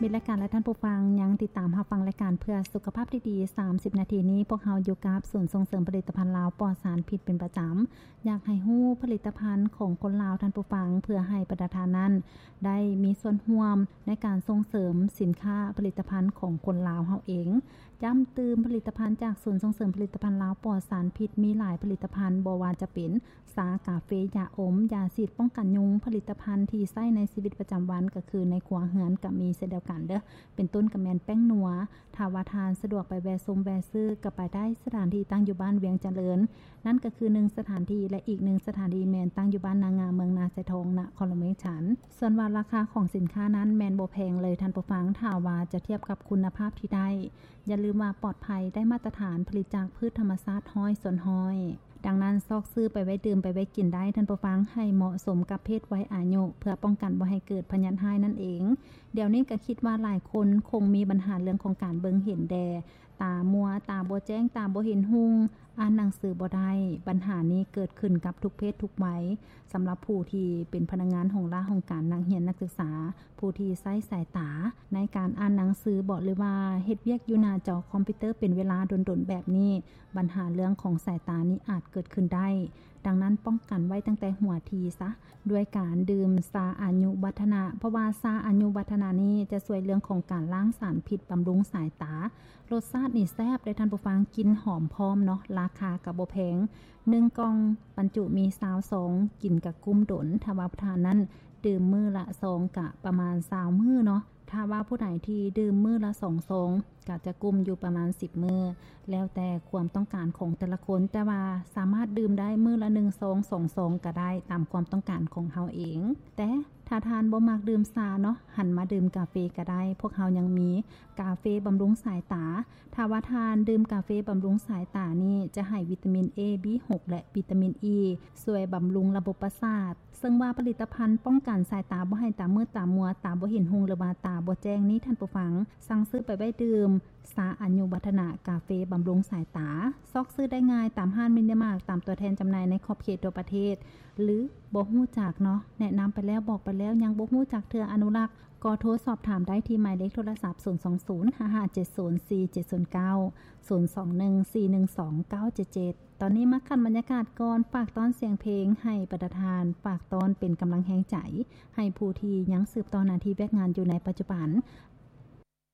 ມິດລາຍການ ແລະ ທ່ານຜູ້ຟັງ ຍັງຕິດຕາມຮັບຟັງລາຍການເພື່ອສຸຂະພາບທີ່ດີ ສາມສິບນາທີນີ້ ພວກເຮົາຢູ່ກັບສູນສົ່ງເສີມຜະລິດຕະພັນລາວປອດສານພິດເປັນປະຈຳ. ຢາກໃຫ້ຮູ້ຜະລິດຕະພັນຂອງຄົນລາວ ທ່ານຜູ້ຟັງ, ເພື່ອໃຫ້ບັນດາທ່ານນັ້ນໄດ້ມີສ່ວນຮ່ວມໃນການສົ່ງເສີມສິນຄ້າຜະລິດຕະພັນຂອງຄົນລາວເຮົາເອງ. ຢ້ຳຕື່ມ, ຜະລິດຕະພັນຈາກສູນສົ່ງເສີມຜະລິດຕະພັນລາວປອດສານພິດ ມີຫຼາຍຜະລິດຕະພັນ, ບໍ່ວ່າຈະເປັນ ຊາ, ກາເຟ, ຢາອົມ, ຢາສີດປ້ອງກັນຍຸງ, ຜະລິດຕະພັນທີ່ໃຊ້ໃນຊີວິດປະຈຳວັນ ກໍຄືໃນຄົວເຮືອນກໍມີເຊັ່ນດຽວກັນເດີ້ ເປັນຕົ້ນກໍແມ່ນແປ້ງນົວ. ຖ້າວ່າທ່ານສະດວກໄປແວ່ຊົມແວ່ຊື້ກໍໄປໄດ້ ສະຖານທີ່ຕັ້ງຢູ່ບ້ານວຽງຈະເລີນ, ນັ້ນກໍຄືໜຶ່ງສະຖານທີ່ ແລະ ອີກໜຶ່ງສະຖານທີ່ແມ່ນຕັ້ງຢູ່ບ້ານນາງາມ ເມືອງນາຊາຍທອງ ນະຄອນຫຼວງວຽງຈັນ. ສ່ວນວ່າລາຄາຂອງສິນຄ້ານັ້ນແມ່ນບໍ່ແພງເລີຍທ່ານຜູ້ຟັງ ຖ້າວ່າຈະທຽບກັບຄຸນນະພາບທີ່ໄດ້. ຢ່າລືມວ່າປອດໄພ, ໄດ້ມາດຕະຖານ, ຜະລິດຈາກພືດທຳມະຊາດຮ້ອຍສ່ວນຮ້ອຍ. ດັ່ງນັ້ນ ຊອກຊື້ໄປໄວ້ດື່ມໄປໄວ້ກິນໄດ້ທ່ານຜູ້ຟັງ ໃຫ້ເໝາະສົມກັບເພດໄວອາຍຸ ເພື່ອປ້ອງກັນບໍ່ໃຫ້ເກີດພະຍາດຮ້າຍນັ້ນເອງ. ດຽວນີ້ກໍຄິດວ່າຫຼາຍຄົນຄົງມີບັນຫາເລື່ອງຂອງການເບິ່ງເຫັນແດ່, ຕາມົວ, ຕາບໍ່ແຈ້ງ, ຕາບໍ່ເຫັນຮຸ່ງ, ອ່ານໜັງສືບໍ່ໄດ້. ບັນຫານີ້ເກີດຂຶ້ນກັບທຸກເພດທຸກໄວ. ສຳລັບຜູ້ທີ່ເປັນພະນັກງານຫ້ອງລາຫ້ອງການ, ນັກຮຽນ, ນັກສຶກສາ, ຜູ້ທີ່ໃຊ້ສາຍຕາໃນການອ່ານໜັງສືບໍ ຫຼືວ່າເຮັດວຽກຢູ່ໜ້າຈໍຄອມພິວເຕີເປັນເວລາດົນໆແບບນີ້, ບັນຫາເລື່ອງຂອງສາຍຕານີ້ອາດເກີດຂຶ້ນໄດ້. ດັ່ງນັ້ນ ປ້ອງກັນໄວ້ຕັ້ງແຕ່ຫົວທີຊະ ດ້ວຍການດື່ມຊາອາຍຸວັດທະນະ, ເພາະວ່າຊາອາຍຸວັດທະນະນີ້ຈະຊ່ວຍເລື່ອງຂອງການລ້າງສານພິດ, ບຳລຸງສາຍຕາ. ລົດຊາດນີ້ແຊບເດ້ທ່ານຜູ້ຟັງ, ກິ່ນຫອມພ້ອມເນາະ, ລາຄາກໍບໍ່ແພງ. ໜຶ່ງກ່ອງບັນຈຸມີຊາວຊອງ, ກິນກະກຸ້ມດົນ. ຖ້າວ່າທ່ານນັ້ນ ດື່ມມື້ລະຊອງກະປະມານຊາວມື້ເນາະ. ຖ້າວ່າຜູ້ໃດທີ່ດື່ມມື້ລະສອງຊອງ ກະຈະກຸ້ມຢູ່ປະມານສິບມື້, ແລ້ວແຕ່ຄວາມຕ້ອງການຂອງແຕ່ລະຄົນ, ແຕ່ວ່າສາມາດດື່ມໄດ້ມື້ລະໜຶ່ງຊອງ, ສອງຊອງກະໄດ້ ຕາມຄວາມຕ້ອງການຂອງເຮົາເອງ. ແຕ່ຖ້າທ່ານບໍ່ມັກດື່ມຊາເນາະ, ຫັນມາດື່ມກາເຟກະໄດ້, ພວກເຮົາຍັງມີກາເຟບຳລຸງສາຍຕາ. ຖ້າວ່າທ່ານດື່ມກາເຟບຳລຸງສາຍຕານີ້ ຈະໃຫ້ວິຕາມິນ A B six ແລະ ວິຕາມິນ E ຊ່ວຍບຳລຸງລະບົບປະສາດ. ເຊິ່ງວ່າຜະລິດຕະພັນປ້ອງກັນສາຍຕາບໍ່ໃຫ້ຕາມືດຕາມົວ, ຕາບໍ່ເຫັນຮຸ່ງ ຫຼືວ່າຕາບໍ່ແຈ້ງນີ້ ທ່ານຜູ້ຟັງ ສັ່ງຊື້ໄປໄວ້ດື່ມຊາອາຍຸວັດທະນະ, ກາເຟບຳລຸງສາຍຕາ. ຊອກຊື້ໄດ້ງ່າຍຕາມຮ້ານມິນິມາດ, ຕາມຕົວແທນຈຳໜ່າຍໃນຂອບເຂດທົ່ວປະເທດ. ຫຼືບໍ່ຮູ້ຈັກເນາະ, ແນະນຳໄປແລ້ວ, ບອກໄປແລ້ວ, ຍັງບໍ່ຮູ້ຈັກເທື່ອ, ອະນຸລັກ, ກໍໂທສອບຖາມໄດ້ທີ່ໝາຍເລກໂທລະສັບ ສູນສອງສູນ ຫ້າຫ້າເຈັດສູນ ສີ່ເຈັດສູນເກົ້າ ສູນສອງໜຶ່ງ ສີ່ໜຶ່ງສອງ ເກົ້າເຈັດເຈັດ. ຕອນນີ້ມາຂັ້ນບັນຍາກາດກ່ອນ, ຝາກຕ້ອນສຽງເພງໃຫ້ບັນດາທ່ານ, ຝາກຕ້ອນເປັນກຳລັງແຮງໃຈໃຫ້ຜູ້ທີ່ຍັງສືບຕໍ່ໜ້າທີ່ວຽກງານຢູ່ໃນປັດຈຸບັນ.